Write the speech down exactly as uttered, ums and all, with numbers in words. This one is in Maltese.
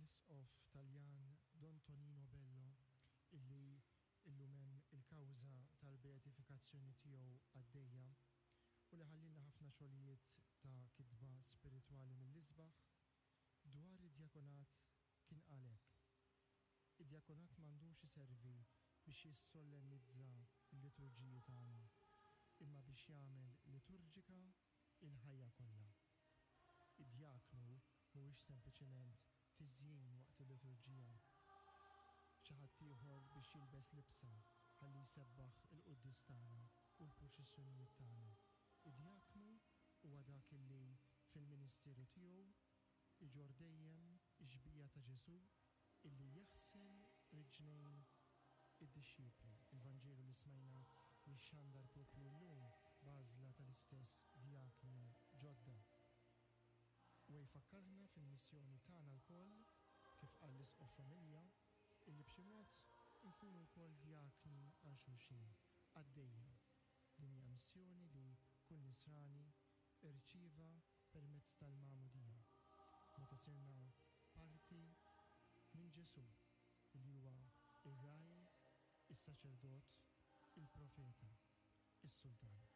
L-Isqof Taljan Don Tonino Bello, illi illum hemm il-kawża tal-beatifikazzjoni tiegħu għaddejja u li ħallilna ħafna xogħlijiet ta' kitba spiritwali mill-isbaħ, dwar id-djakonat kien qal hekk: "Id-djakonat m'għandux iservi biex jissollennizza l-liturġiji tagħna, imma biex jagħmel liturġika il-ħajja kollha." Id-djaknu mhuwiex sempliċement tiżjin waqt il-liturġija, xi ħadd ieħor biex jilbes libsa ħalli jsebbaħ il-quddies tagħna u l-purċissjonijiet tagħna. Id-djaknu huwa dak illi fil-ministeru tiegħu iġorr dejjem ix-xbieha ta' Ġesù illi jaħsel riġnejn id-dixxipli. Il-Vanġelu li smajna jixxandar propju llum b'għażla tal-istess djakni ġodda. U jfakkarna fil-missjoni tagħna lkoll, kif qal l-Isqof Familja, illi b'xi mod nkunu wkoll djakni għal xulxin, qaddejja. Din hija missjoni li kull nisrani irċieva permezz tal-magħmudija, meta sirna parti minn Ġesù, li huwa ir-ragħaj, is-saċerdot, il-profeta, is-sultan.